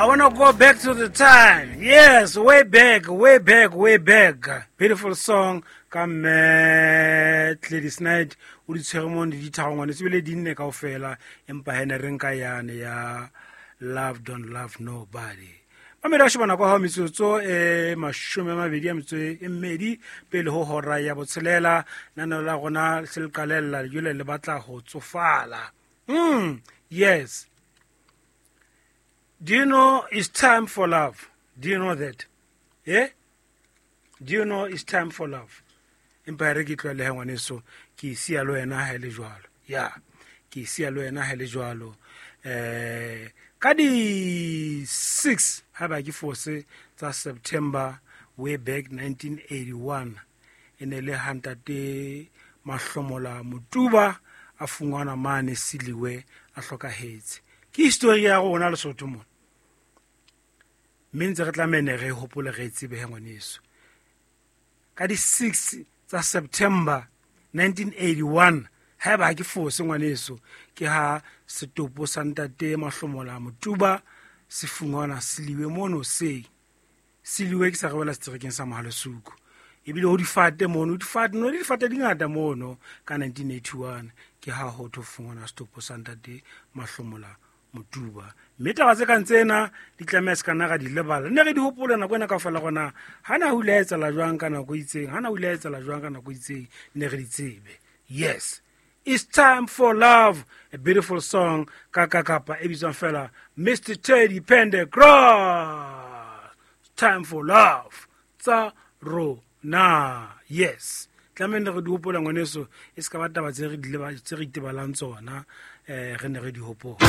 I want to go back to the time. Yes, way back, way back, way back. Beautiful song ka mme Gladys Knight o di tshwere mo di dithago ngwane se bile di nne kaofela empa he ne re nka yane ya Love Don't Love Nobody. Mamedi wa shebana kwa hao metsotso e 20 a metso e mmedi pele ho hora ya botshelela nano la rona se le qalella jole le batla ho tsofala. Yes. Do you know it's time for love? Do you know that? Yeah? Do you know it's time for love? Empa re ke tlohele he ngwaneso, ke e siya le wena ha e le jwalo. Ya, ke e siya le wena ha e le jwalo. Ka di 6 ha ba ke fose tsa September way back 1981 e ne le ha ntate Mahlomola Motuba a fungwana mane Siliwe a hlokahetse. Ke history ya rona Lesotho mona. Mme ntse re tlameha ne re hopole re tsebe he ngwaneso. Ka di 6 tsa September 1981 haeba ha ke fose ngwaneso ke ha setopo sa ntate Mahlomola Motuba se fungwana Siliwe mono se. Siliwe ke sa re wela seterekeng sa Mohalesuku. Ebile ho difate mono, difate no difate di ngata mono ka 1981 ke ha ho tho fungwana setopo sa ntate Mahlomola Motuba. Mme taba tse kang tsena di tlameha se kana ra di lebala. Ne re di hopole nako ena kaofela rona hana ho ile ha etsahala jwang ka nako e itseng, hana ho ile ha etsahala jwang ka nako e itseng, ne re di tsebe. Yes. It's time for love, a beautiful song ka kapa e bitswang fela Mr Teddy Pendergrass. Time for love tsa rona. Yes. Tlamehile re di hopola ngwaneso, e se ka ba taba tse re di leba, tse re itebalang tsona, re ne re di hopola.